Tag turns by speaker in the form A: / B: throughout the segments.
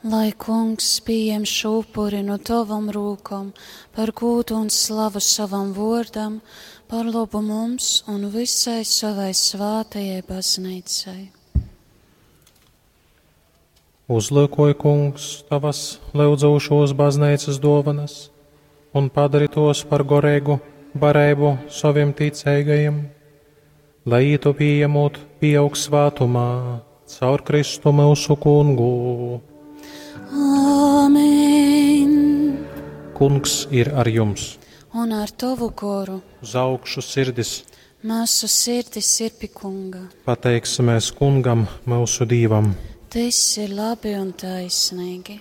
A: Lai kungs pieņem šo upuri no tavam rūkom par gūdu un slavu savam vārdam, par labu mums un visai savai svātajai baznīcai.
B: Uzlūkoj, kungs, tavas lyudzūšos baznīcas dovanas un padari tos par goreigu bareibu saviem ticīgajiem, lai ītu pieņemot pieaug svātumā caur Kristu mūsu kungu.
A: Āmen!
B: Kungs ir ar jums!
A: Un ar tavu goru
B: Uz augšu sirdis
A: mūsu sirdis ir pie kunga.
B: pateiksimies kungam, mūsu dīvam.
A: Tas ir labi un taisnīgi.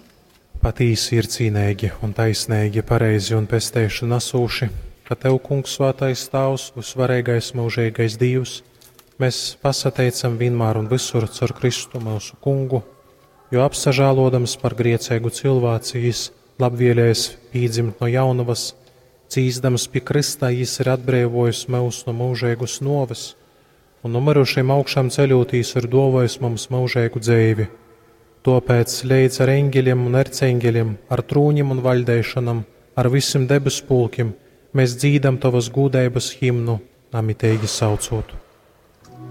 B: Patīsi ir cīnīgi un taisnīgi, pareizi un pesteišana nesūši, ka Tev, Kungs, svētais Tēvs, visvarīgais mūžīgais Dievs, mēs pasateicam vienmēr un visur caur Kristu mūsu Kungu, jo apsažālodams par griecēgu cilvēci, jis labvēlējis pīdzimt no jaunavas, cīzdams pie Krista, jis ir atbrīvojis mūs no mūžīgas noves, un no mirušiem augšām ceļotīs ir dovojis mums mūžīgu dzēvi. Tāpēc līdz ar eņģeļiem un erceņģeļiem, ar trūņiem un vaļdēšanam, ar visiem debes pulkiem, mēs dzīdam tavas gūdeibas himnu, namitīgi saucot.